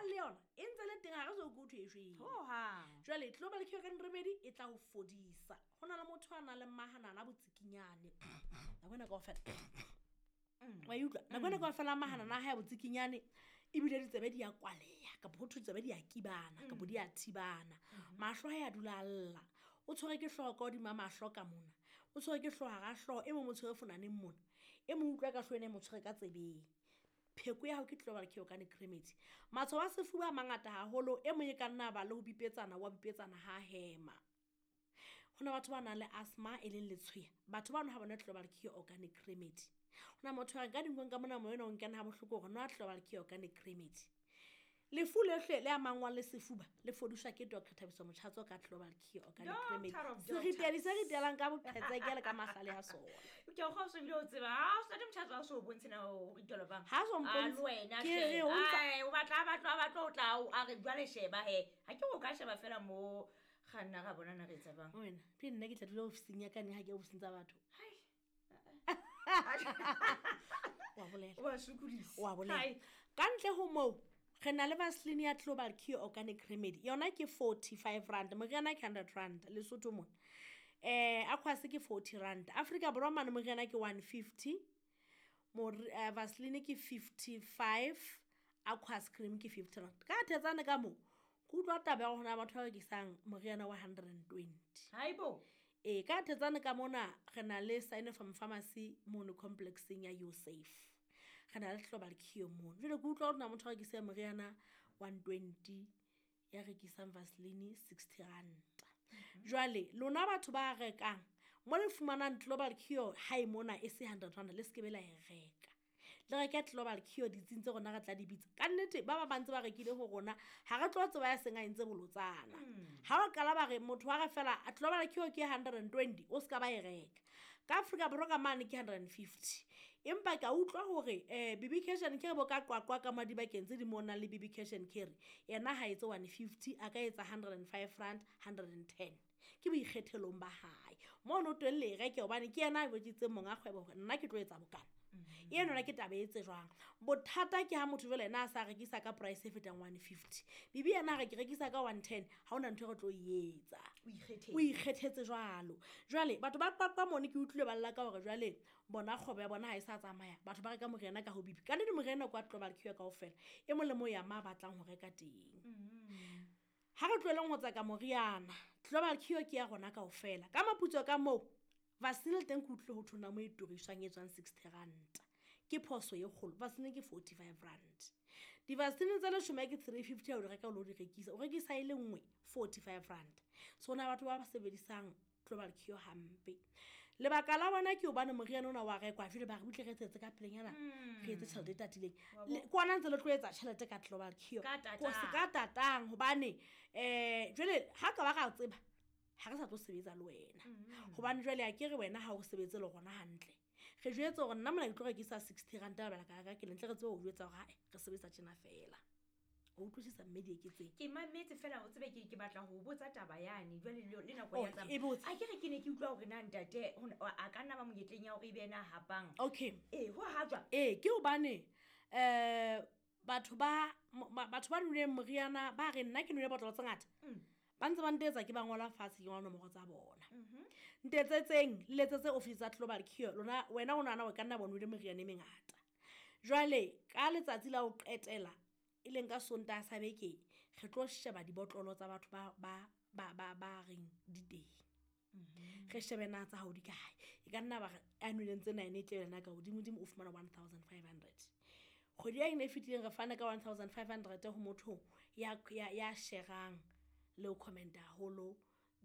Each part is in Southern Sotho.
Le yona e ntse le teng, ga re so ko thwe e shwele Hohang. Jwale Global Cure Organic Remedy e tla go fodisa. Go na le motho a nang le maganana a botsikinyane nako ena kaofela, wa e utlwa, nako ena kaofela maganana a gae a botsikinyane, ebile ditsebe di a kwaleya, kapo go thwe tsebe di a kibana kapo di a thibana, mahlo a ya dula a lla, o tshwere ke hlooho ka hodima mahlo ka mona, o tshwere ke hlooho hara hlooho, e mong o tshwere fonaneng mona, e mong utlwa ka hlooho ena e mo tshwere ka tsebeng. Pheko ya hao ke Global Cure Organic Remedy. Matshwao a sefuba a mangata haholo, e mong e ka nna ba le ho bipetsana, wa bipetsana ha hema. Ho na batho ba nang le asthma, e leng letshweya, batho bano ha bona Global Cure Organic Remedy. Ho na motho a re ka dinkong ka mona, moya ona o nkena ha bohloko, hore nwa Global Cure Organic Remedy. Lefu lehle le amangwang le sefuba le fodiswa ke Dr Thabiso Motjhatso ka Global Cure Organic Remedy. Doctor of Seritedi se ritelang ka boqhetseke le ka mahlale a sona. Ke a kgwa o se bile o tseba ha o sate Motjhatso a so o bontshe na o ritelo bang. Ha so A mpontshe. le wena Ke hle. re o ntsa- Ai, o batla a batlo a batlo o tla o a re jwale sheba he ha ke o ka sheba fela mo kganna ra bona na re etsa bang. Wena pele nna ke tla dula ofising ya ka neng ha ke ya ofising tsa batho? Hai. Wa bolela. Wa sokodisa. Wa bolela. Hai. Ka ntle ho moo, re na le vaseline ya Global Cure Organic Remedy, yona ke R45, moriana ke R100 Lesotho mona, aquas ke R40. Africa Borwa mane moriana ke 150, vaseline ke 55, aquas cream ke R50. Ka thetsane ka moo, ke utlwa taba ya hore ho na le batho ba rekisang moriana wa 120. Haibo. Ee, ka thetsane ka mona re na le Sinopharm Pharmacy mono complexeng ya Usafe, re na le Global Cure mono. Jwale ke utlwa hore na motho a rekisang moriana 120, ya rekisang vaseline R60. Jwale lona batho ba rekang mo le fumanang Global Cure hae mona e se R100, le se ke be la e reka, le reke Global Cure ditsing tse rona re tla di bitsa. Ka nnete ba ba bantse ba rekile ho rona, ha re tlo tseba ya seng a entse bolotsana. Ha o qala ba re motho wa re fela Global Cure ke 120, o ska ba e reka. Ka Afrika Borwa ka mane ke 150, empa ka utlwa hore BB Cash and Carry bo ka Qwaqwa ka madi bakeng tse di mo nang le BB Cash and Carry, yena ha etse 150, a ka etsa R105, 110, ke boikgethelong ba hae mono teng. Le e reke hobane ke yena a jwetsitseng monga kgwebo hore nna ke tlo etsa bokana. Eno yona ke taba e tsejwang. Bothata ke ha motho jwale ena a sa rekisa ka price e fetang 150, bibi yena a re ke rekisa ka 110, ha hona ntho e re tlo e etsa. O ikgethetse. O ikgethetse jwalo. Jwale batho ba Qwaqwa mone ke utlwile ba lla ka hore jwale bona kgwebo ya bona ha e sa tsamaya, batho ba reka moriana ka ho bibi. Ka nnete moriana kwa Global Cure kaofela, e mong le mong ya ma batlang ho reka teng. Ha re tlohelleng ho tseka moriana, Global Cure ke ya rona kaofela. Ka moputso ka moo, vaseline le teng ke utlwile ho thwe na mo e turiswang e tswang R60, ke phoso e kgolo. Vaseline ke R45. Di-vaseline tse 10 ke 350 ha o di reka o lo di rekisa, o rekisa e le nngwe R45. So ho na batho ba sebedisang Global Cure hampe, lebaka la bona ke hobane moriana ona wa rekwa, jwale ba re butle re etsetse ka pelenyana, re etse tjhelete e tatileng. Wa bo- Ke ona ntse le tlo etsa tjhelete ka Global Cure. Ka tatang. Ko se ka tatang, hobane jwale ha ka ba ra tseba ha re sa tlo sebetsa le wena, hobane jwale a ke re wena ha o sebetse le rona hantle, re jwetse hore nna mona ke tlo rekisa R60, lebaka la ka ke lentle, re tsebe ho jwetsa hore hae re sebetsa tjena fela. O utlwisisa mme Dieketseng? Ke mametse fela, o tsebe ke batla ho botsa taba yane jwale le nako Oh, ya tsamaya. e botse. A ke re ke ne ke utlwa hore na ntate a ka nna ba monyetleng ya hore ebe yena a hapang. Okay. Ee, ho ha jwang? Ee, ke hobane batho ba mo-, batho ba nweleng moriana ba re nna ke nwele botlolo tse ngata, ba ntse ba ntetsa, ke ba ngola fatshe, ke ngola nomoro tsa bona. Ntetsetseng, le letsetse office tsa Global Cure lona. Wena o nahana hore ka nna ba nwele meriana e mengata. Jwale ka letsatsi la ho qetela, e leng ka Sontaha sa beke, re tlo sheba dibotlolo tsa batho ba reng di teng. Re shebe na tsa hao di kae. E ka nna ba re a nweleng tse nine e tle yona ka hodimodimo, o fumana 1500. Kgwedi ya ena e fetileng re fane ka 1500 ho motho ya sherang le ho comment-a haholo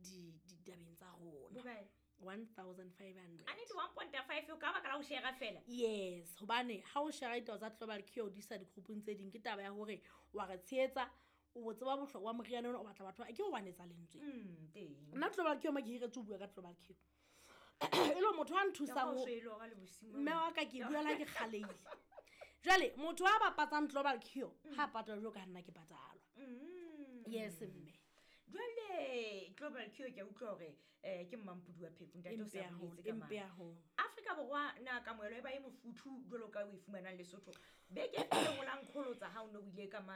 ditabeng tsa rona. Bokae? 1500. A nnete 1.5 ka baka la ho share fela? Yes, hobane ha o share ditaba tsa Global Cure o di isa di-groupung tse ding, ke taba ya hore wa re tshehetsa, o tseba bohlokwa ba moriana ona, o batla batho ba ke o wanetsa lentswe. Teng. Nna Global Cure ma ke hiretse ho bua ka Global Cure. E le motho a nthusang Ka ho ho swele hora le bosiu. Mme wa ka ke bua la ke kgaleile. Jwale motho a bapatsang Global Cure ha patalwa jwalo ka nna ke patalwa. Yes mme. Jwale Global Cure ke a utlwa hore ke mmampudi wa pheko, ntate o sa Empe haholo, boletse ka empe mane. haholo. Afrika Borwa na kamohelo e ba e mofuthu jwalo ka o e fumanang Lesotho? Beke e fetileng o la nkgolotsa ha o ne o ile ka mane.